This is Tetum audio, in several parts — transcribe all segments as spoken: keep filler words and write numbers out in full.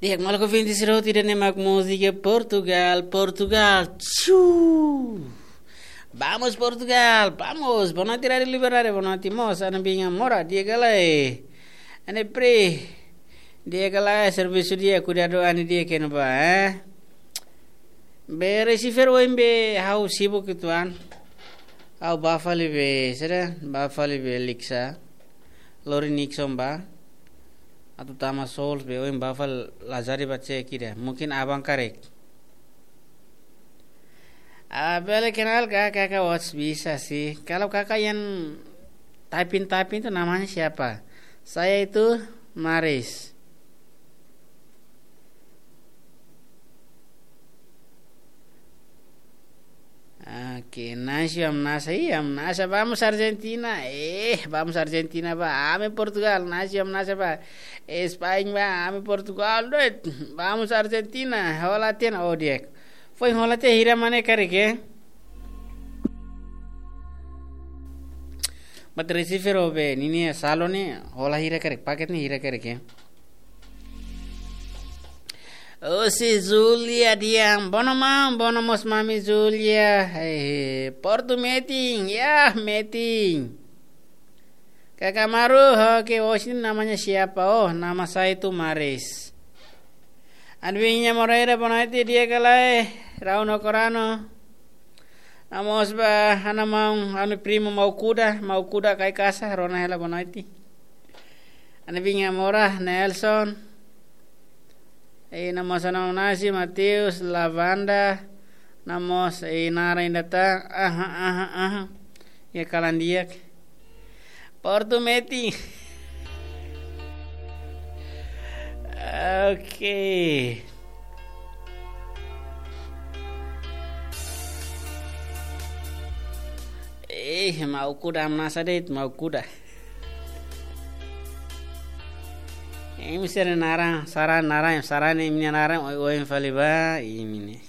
Di'ak, maluk ouvinte sira hotu, ida-ne'e mak múzika Portugal, Portugal. Txu! Vamos Portugal, vamos. Boa noite, Rádio Liberdade. Boa noite, mós. Ana Binha Mora, di'ak ka lae? Ana Pri, di'ak ka lae? Servisu di'ak, kuidadu an di'ak ka lae, eh? Be receiver oin be ha'u sibuk uitoan. Ha'u bá fali be, sira, bá fali be Liksa. Lori Nixon bá. Atu tama Souls be oin bá fali lazari ba cek ida. Mungkin aban karik. Ah, bele kenal ka, kakak Watts bisa sih. Kalau kakak yang typing-typing itu namanya siapa? Saya itu Maris. Oke, Nasio hamnasa, ih, hamnasa, vamos Argentina. Eh, vamos Argentina bá, ami Portugal, Nasio hamnasa bá. España bá, ami Portugal, doit. Vamos Argentina, hola tiha, oh, di'ak. Foin hola tiha hira mane karik, eh? Bat receiver ó be, ninia saldo ne'e, hola hira karik, paket ne'e hira karik, eh? Osi Julia dehan, bono maun, bono mós mami Julia. Eh, Portu metin, ya, metin. Kakak Maru, oke, osin namanya siapa? Oh, nama saya itu Maris. Ana Binha Moreira, boa noite, di'ak ka lae? Rauno Corano. Vamos bá, ana maun, anu primo Mau Kuda, Mau Kuda Kaikasa, rona hela boa noite. Ana Binha Mora, Nelson. Eh, na mós ana Nasi, Mateus, Lavanda. Na mós, eh, naran ida tan. Aha, aha, aha. Iha kalan di'ak. Portu metin. Oke. Eh, Mau Kuda hamnasa de'it, Mau Kuda. Eh, imi sira naran, saran naran, saran imi-nia naran, oioin fali bá, imi ne'e.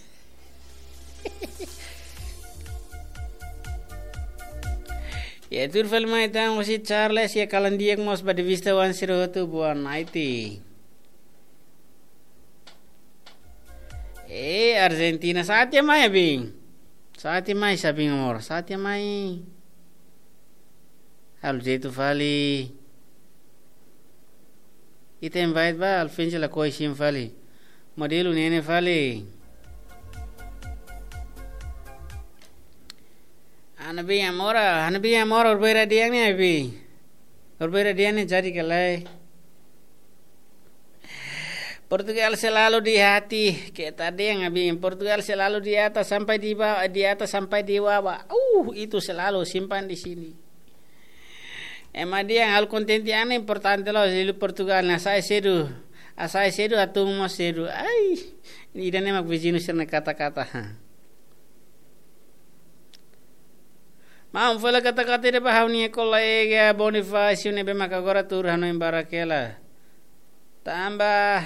Ya, tuir fali mai tan, osi Charles, iha kalan di'ak mós ba de vista wan sira hotu, boa noite. Eh, Argentina, sa'e tiha mai, Abin. Sa'e tiha mai, Sabin amor, sa'e tiha mai. Halo jeitu fali. Ita invite bá, Alfensi lakohi simu fali. Modelu ne'e ne'e fali. Ana Binha Mora, Ana Binha Mora, urbeira di'ak ne'e, Abin. Urbeira di'ak ne'e jadi ka lae. Portugal selalu di hati, keta dehan Abin. Portugal selalu di atas sampai di bawah, di atas sampai di bawah. Uh, itu selalu simpan di sini. Ema dehan halo kontente an importante loos, liuliu Portugal ne'e, hasa'e sedu. Hasa'e sedu, hatún mós sedu. Ai, ida-ne'e mak viziñu sira-nia kata-kata. Maun, fó hela kata-kata ida ba ha'u-nia kolega Bonifácio ne'ebé maka agora tuur hanoin Barakela. Tanba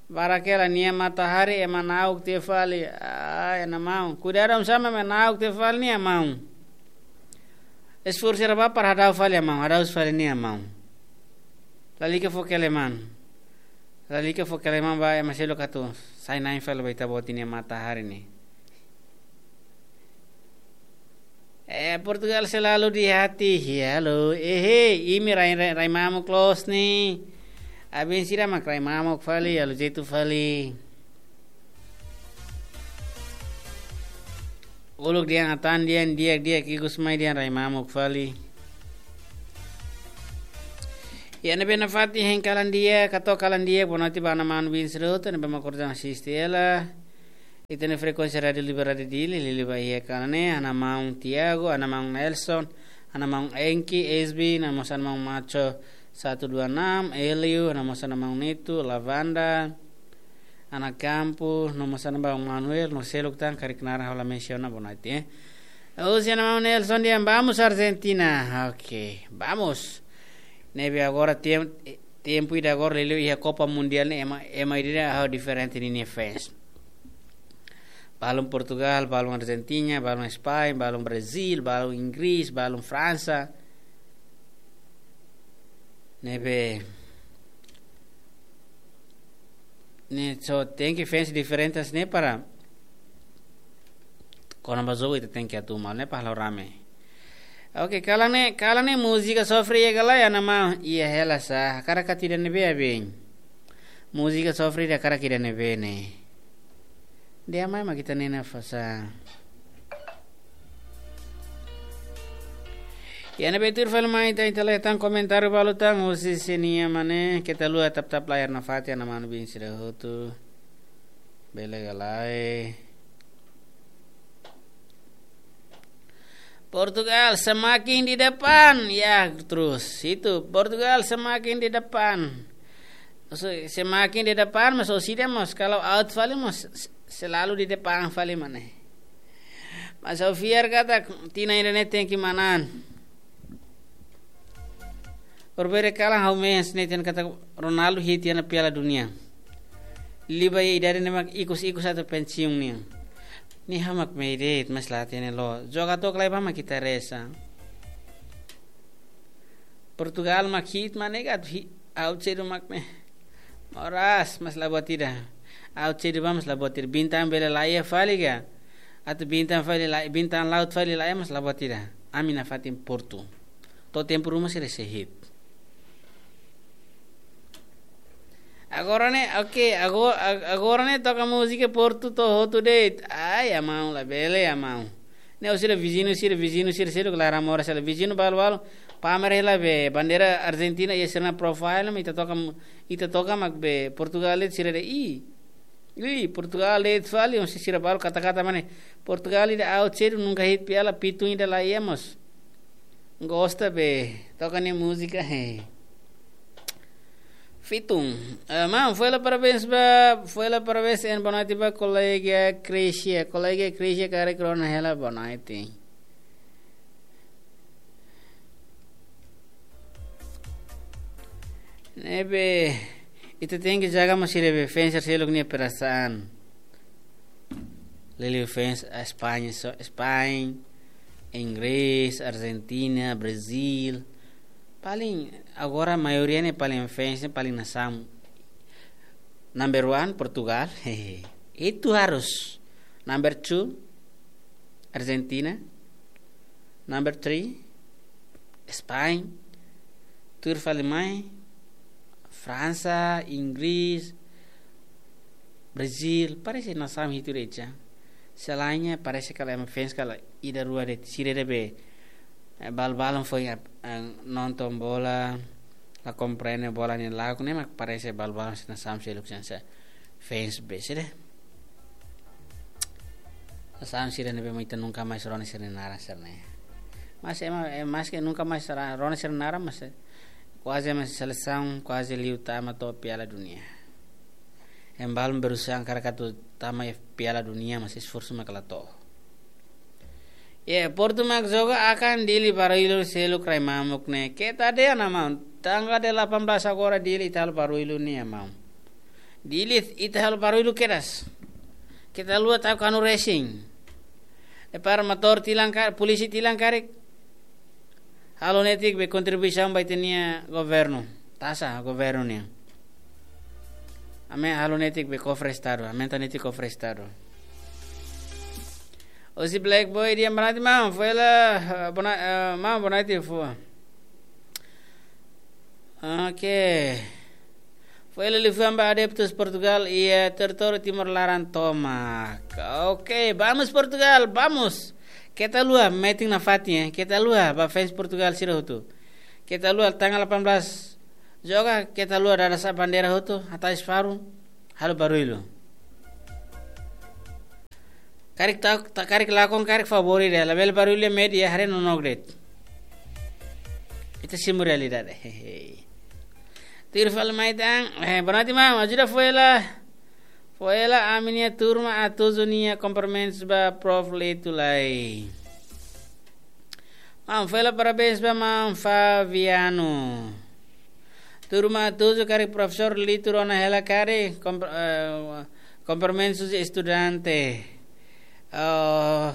Barakela nia matahari ema na'ok tiha fali. Ah, ema maun. Kuidadu, oinsá ema na'ok tiha fali, ema maun. Esforsu sira bá para hadau fali, ema maun. Hadau fali, ema maun. Lalika fó keleman. Lalika fó keleman ba ema seluk atu sai-na'in fali ba ita-boot nia matahari ne'e. Eh, Portugal selalu di hati. Halo, eh, imi rai, rai, rai mamuk loos ne'e. Abin sira mak rai mamuk fali, halo jeitu fali. Uluk dehan atan dehan di'ak, di'ak ikus mai dehan rai mamuk fali. Ya, ne'ebé nafatin hein kalan di'ak, katuas kalan di'ak, boa noite ba ana maun Winsroto, ne'ebé mak orsida asiste hela. Ita-nia frekuénsia Rádio Liberdade Dili, liuliu ba iha kalan ne'e, ana maun Tiago, ana maun Nelson, ana maun Enki, S B, no mós ana maun Macho satu dua enam, Elio, no mós ana maun Neto, Lavanda, ana Campo, no mós ana maun Manuel, no seluk tan karik naran ha'u la mensiona, boa noite, eh. Osi ana maun Nelson dehan, vamos Argentina. Ok, vamos. Ne'ebé agora tem-, tempu ida agora liuliu iha Copa Mundial ne'e ema, ema ida ha'u diferente ninia fans. Balun Portugal, balun Argentina, balun España, balun Brazil, balun Inggris, balun Fransa. Ne'ebé ne'e só tenke fans diferentes ne'e para kona-ba jogu ita tenke atu malu ne'e para halo rame. Oke, kalan ne'e, kalan ne'e múzika sofre iha ka lae, iha ona maun, iha hela sá, hakarak ka ida ne'ebé bem. Múzika sofre ida hakarak ida ne'ebé ne'e. Dehan mai mak ita-nia nafatin. Iha ne'ebé tuir fali mai ita, ita lee tan komentáriu balu tan, husi sira-nia mane, keta haluha tap-tap layar nafatin, iha ona maun bin sira hotu. Bele ka lae. Portugal semakin di depan, ya terus. Itu, Portugal semakin di depan. So, semakin di depan, mas orsida mós, kalau out fali mós, s-, selalu di depan fali mane. Mas ha'u fiar katak tinan ida-ne'e tenke manán. Berbeda kalan ha'u mean sneiten katak Ronaldo hit iha ona Piala Dunia. Liu ba iha idade ne'e mak ikus-ikus atu pensiun nian. Ne'e ha'u mak mean de'it, mas la hatene loos. Jogadór ka lae ba mak ita reza. Portugal mak hit mane ka atu hi-, out sedu mak ne'e. Moras, mas la buat ida. Out sedu ba mas la buat ida. Bintang bele la iha fali ka. Atu bintang fali la, bintang laut fali la iha mas la buat ida. Ami nafatin Portu. To'o tempu ruma sira sei hit. Agora ne'e, oke, ago-, ag-, agora ne'e toka múzika Portu to'o hotu de'it. Ai, iha maun, labele, iha maun. Ne'e orsida viziñu sira, viziñu sira, sira klaran moras hela. Viziñu balu-balu, pamer hela be bandeira Argentina iha sira-nia profile, mas ita toka mu-, ita toka mak be Portugal de'it, sira dehan, "Ih, ih, Portugal de'it fali," ohin sira balu kata-kata mane. Portugal ida out sedu, nunka hit piala, fitun ida la iha mós. Gosta be, toka nia múzika, he. Fitun. Eh, maun, foin hela parabéns ba, foin hela parabéns and boa noite ba kolega Crisia. Kolega Crisia karik rona hela, boa noite. Ne'ebé, ita tenke jaga mós sira be fans seluk nia perasaan. Liuliu fans, eh, España, so-, España, Inggris, Argentina, Brazil. Paling, agora maioria ne'e paling fans ne'e paling nasaun. Number one, Portugal. Itu harus. Number two, Argentina. Number three, Spain. Tuir fali mai, Fransa, Inggris, Brazil, parese nasaun hitu de'it. Selainnya parese kalau ema fans kalau ida rua de'it, sira de'it be, eh, balu-balu foin, eh, nonton bola, la komprende bola nia lakon, ne'e mak parese balu-balu sira nasaun seluk sira fans be sira. Nasaun sira ne'ebé mak ita nunka mais rona sira-nia naran sira-ne'e. Mas ema, eh, maske nunka mais ra-, rona sira-nia naran, mas, eh, kuaze ema selesaun, kuaze liu tama to'o Piala Dunia. Ema balu berusaha hakarak atu tama iha Piala Dunia, mas esforsu mak la to'o. Ye, Portu mak joga akan Dili barullu seluk rai mamuk ne'e. Keta dehan ona maun. Tanggal delapan belas agora Dili ita halo barullu nian maun. Dili ita halo barullu kedas. Keta haluha tau kanu racing. Depois motór tilang ka-, polísia tilang karik. Halo netik be kontribuisaun ba ita-nia governu. Taxa governu nian. Ami halo netik be kofre estadu. Ami tan netik kofre estadu. Husi Black Boy dehan boa noite maun. Foin hela, eh, boa no-, eh, maun boa noite foin. Oke. Foin hela liafuan ba adeptus Portugal iha territóriu Timor laran tomak. Oke, vamos Portugal, vamos. Keta haluha, metin nafatin, eh. Keta haluha, ba fans Portugal sira hotu. Keta haluha, tanggal delapan belas joga, keta haluha dada sa'e bandeira hotu, hatais faru, halo barullu. Karik ta, ta karik lakon karik favór de'it, labele barullu iha média, haree nonook de'it. Ita simu realidade. Hehe. Tuir fali mai tan, eh, boa noite maun, ajuda foin hela. Foin hela ami-nia turma Atuzu nia kumprimentus ba Prof Lito lai. Maun, foin hela parabéns ba maun Fabiano. Turma Atuzu karik profesór Lito rona hela karik, kom-, eh, kumprimentus estudante. Oh,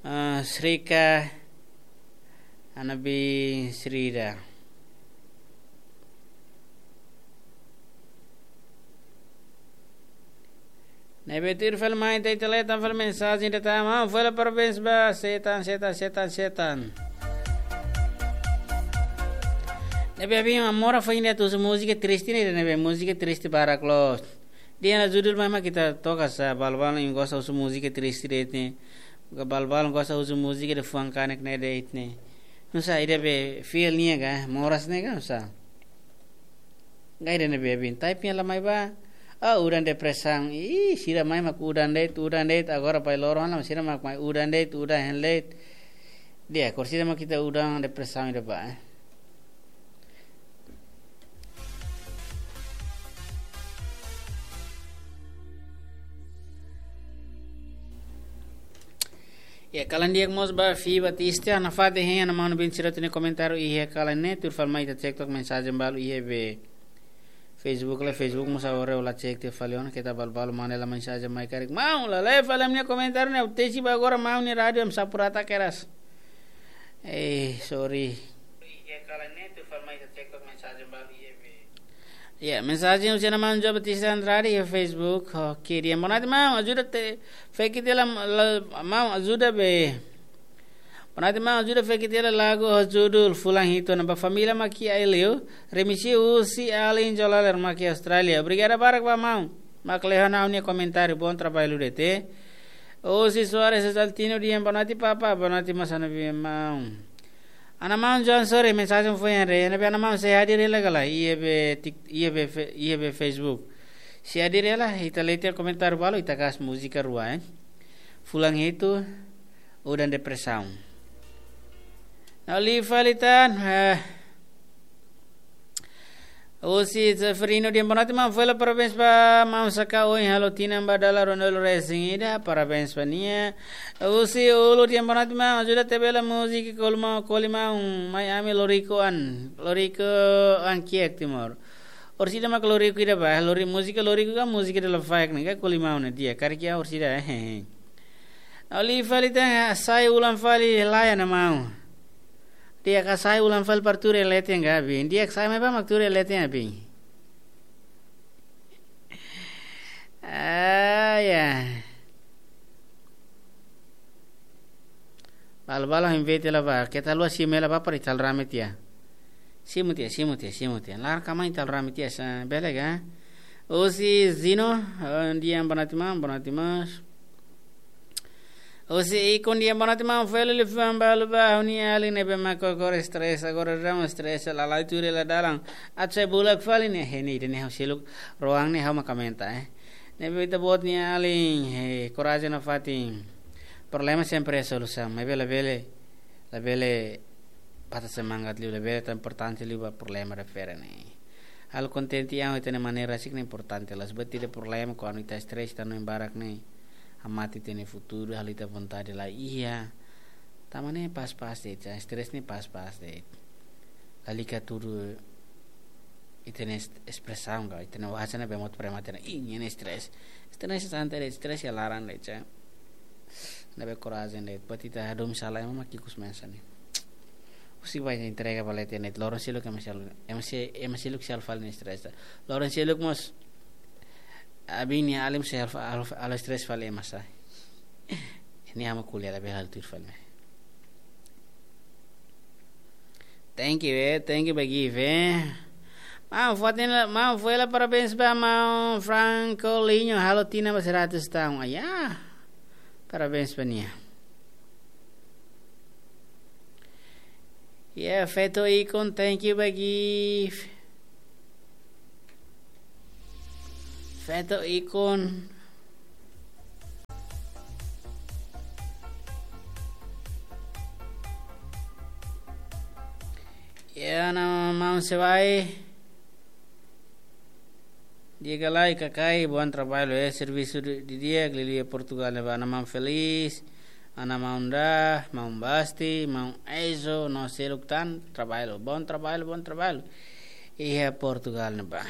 eh, Srika, Anabi Srida. Ne'ebé tuir fali mai ita, ita lee tan fali mensajen ida tan, maun, fali parabéns ba Setan, Setan, Setan, Setan. Ne'ebé abin mora fa inde atu husu múzika triste ne'e, ne'ebé múzika triste barak loos. Dehan ona judul mai mak ita toka sa, balu-balu gosta husu múzika triste de'it ne'e. Balu-balu gosta husu múzika de fuan kanek ne'e de'it ne'e. Nusá, ida be feel nia ka, moras ne'e ka, nusá. Gai de ne'ebé abin. Typing la mai ba. Ah, udan depresaun. Ih, sira mai mak udan de'it, udan de'it. Agora bai loron ona, sira mak mai udan de'it, udan hein de'it. Di'ak, orsida mak ita udan depresaun ida ba, eh. Ya, kalan di'ak mós ba Fi Batista, nafatin hein, ana manu bin sira tene komentáriu iha kalan ne'e, tuir fali mai ita cek tok mensajen balu iha be Facebook la, Facebook mós agora la cek tiha fali ona, keta balu-balu mane la mensajen mai karik. Maun, la lee fali ami-nia komentáriu ne'e, tesi ba agora maun nia rádiu, ami sapurata keras. Eh, sorry. Ya, mensajen husi ana maun João Batista Andrade iha Facebook. Oke, dehan boa noite maun, ajuda te, feki tiha la, la, maun, ajuda be. Boa noite maun, ajuda feki tiha la lagu ho judul Fulan Hitu ona ba família mak iha Aileu, remisi husi alin Jolaler mak iha Austrália. Obrigada barak ba maun mak lee ona ha'u-nia komentáriu, bom trabalho de'it. Husi Soares Exaltino dehan boa noite papa, boa noite mós ana maun. Ana maun João, sorry, mensajen foin hare, ne'ebé ana maun sei hadir hela ka lae, iha be tik-, iha be fe-, iha be Facebook. Sei hadir hela, ita lee tiha komentáriu balu, ita kais múzika rua, eh. Fulan Hitu, Udan Depresaun. Ne'e liu fali tan, eh, husi Zeferino dehan boa noite maun, fali parabéns ba maun saka ohin halo tinan ba dala ruanulu-resin-ida, parabéns ba nia. Husi Ulu dehan boa noite maun, ajuda tebe la múzika Kolimau, Kolimau, mai ami loriku an, loriku an kiak Timor. Orsida mak loriku ida ba, lori-, múzika loriku ka múzika dala faek ne'e ka Kolimau ne'e di'ak, karik iha orsida, eh, eh, eh. Ne'e liu fali tan, sai ulang fali lae ana maun. Di'ak ka sai ulang fali para tuur iha leten ka abin. Di'ak sai mai ba mak tuur iha leten abin. Ah, ya. Balu-balu invite la ba. Keta haluha simu hela ba para ita halo rame tiha. Simu tiha, simu tiha, simu tiha. Laran kama ita halo rame tiha sa bele ka. Husi Zino, eh, dehan boa noite maun, boa noite maun. Husi Ikon dehan boa noite maun, fali liafuan balu ba ha'u-nia alin ne'ebé mak koko stress, agora daudaun stress, lala'e tuur hela dalan. Atu sai bulak fali ne'e, he ne'e, ida-ne'e ha'u seluk rohan ne'e ha'u mak komenta, eh. Ne'ebé ita-boot nia alin, he, korajen nafatin. Problema sempre iha solusaun, maibé labele, labele patah semangat liu, labele tau importante liu ba problema refere ne'e. Halo kontente an ho ita-nia maneira rasik ne'e importante, la'ós buat ida problema kuandu ita stress, ita hanoin barak ne'e hamate ita-nia futuru, halo ita vontade la iha. Tanba ne'e pas-pas de'it, stress ne'e pas-pas de'it. Lalika tudu ita-nia es-, espresaun ka, ita-nia wajah ne'ebé mout prema tena, ih, nia ne'e stress. Stress santai de'it, stress iha laran de'it, sa. Ne'ebé korajen de'it, buat ita hadomi sala ema mak ikus mensa ne'e. Husik ba entrega ba leten ne'e, loron seluk ema seluk, ema se-, ema seluk sei halo fali nia stress. Loron seluk mós, abin nia alin sei halo fa-, halo fa-, halo stress fali ema sá. Ne'e ha'u mak ko'alia labele halo tuir fali mai. Thank you, eh. Thank you ba Give, eh. Maun, fatin la, maun, fali parabéns ba maun Franco Linho, halo tinan ba seratus tahun. Ah, ya. Parabéns ba nia. Ya, Feto Ikon, thank you ba Give. Feto Ikon. Ya, ana maun Sewai. Di'ak ka lae, Kakai, bom trabalho, eh, servisu di, di'ak, liuliu iha Portugal ne'ebá, ana maun Felis, ana maun Da, maun Basti, maun Aizo, no seluk tan, trabalho, bom trabalho, bom trabalho. Iha Portugal ne'ebá.